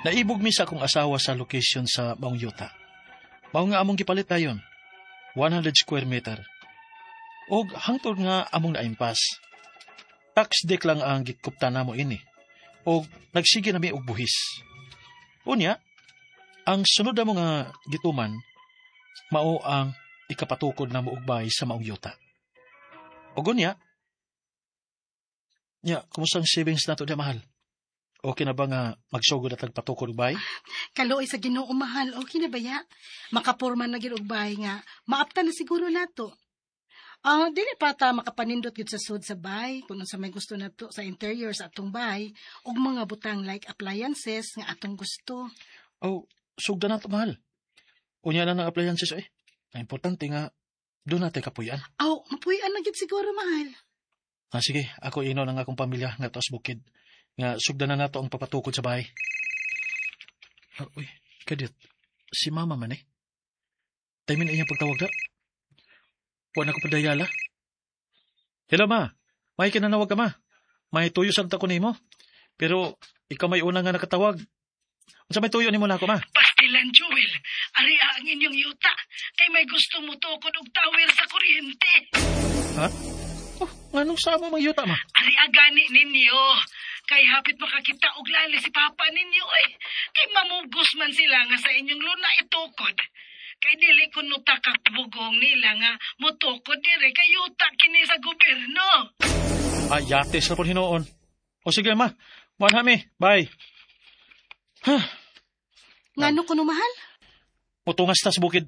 Naibog mi sa akong asawa sa location sa maong yuta. Mao nga among gipalit dayon, 100 square meter. Og hangtod nga among naimpas. Tax dec lang ang gikupta namo ini. Og nagsige nami og buhis. Unya, ang sunod namo nga gituman mao ang ikapatukod namo og bahay sa maong yuta. Og unya, nya, kumusta ang savings nato diya, mahal? Okay na ba nga magsugod at patukod og bahay? Kaluoy sa Ginoo, mahal, okay na baya? Makapurma na gyud og bahay nga maapta na siguro nato. Ah, dili pa ta makapanindot gyud sa sud sa bahay kung unsa may gusto nato sa interior sa atong bahay ug mga butang like appliances nga atong gusto. Oh, sugdan nato, mahal. Unya na ng appliances eh. Ang importante nga, doon natin kapuyan. Aw, mapuy-an na gyud siguro, mahal. Ah, sige, ako ino ng akong pamilya nga taas bukid. Nga sugdan na nato ang papatukod sa bahay. Ah, uy, kadiyot. Si mama man eh. Time na iyang pagtawag da. Wa na ko padayala. Hello, ma. May kinanawag ka, ma. May tuyo sa ko nimo. Pero ikaw may una nga nakatawag. Unsa may tuyo nimo nako, ma? Pastilan, Joel. Ari ang inyong yuta. Kay may gusto mo tukod og tower sa kuryente. Ha? Oh, nganong sa amo mang yuta, ma? Ari agani ninyo. Kay hapit makakita og lali si papa ninyo eh. Kay mamugos man sila nga sa inyong luna itukod. Kay dili kuno takakbugong nila nga motukod dire kay yuta kini sa gobyerno. Ah, yates na po hinuon. O sige, ma. Muanha mi. Bye. Ngano kuno, mahal? Mutungas ta sa bukid.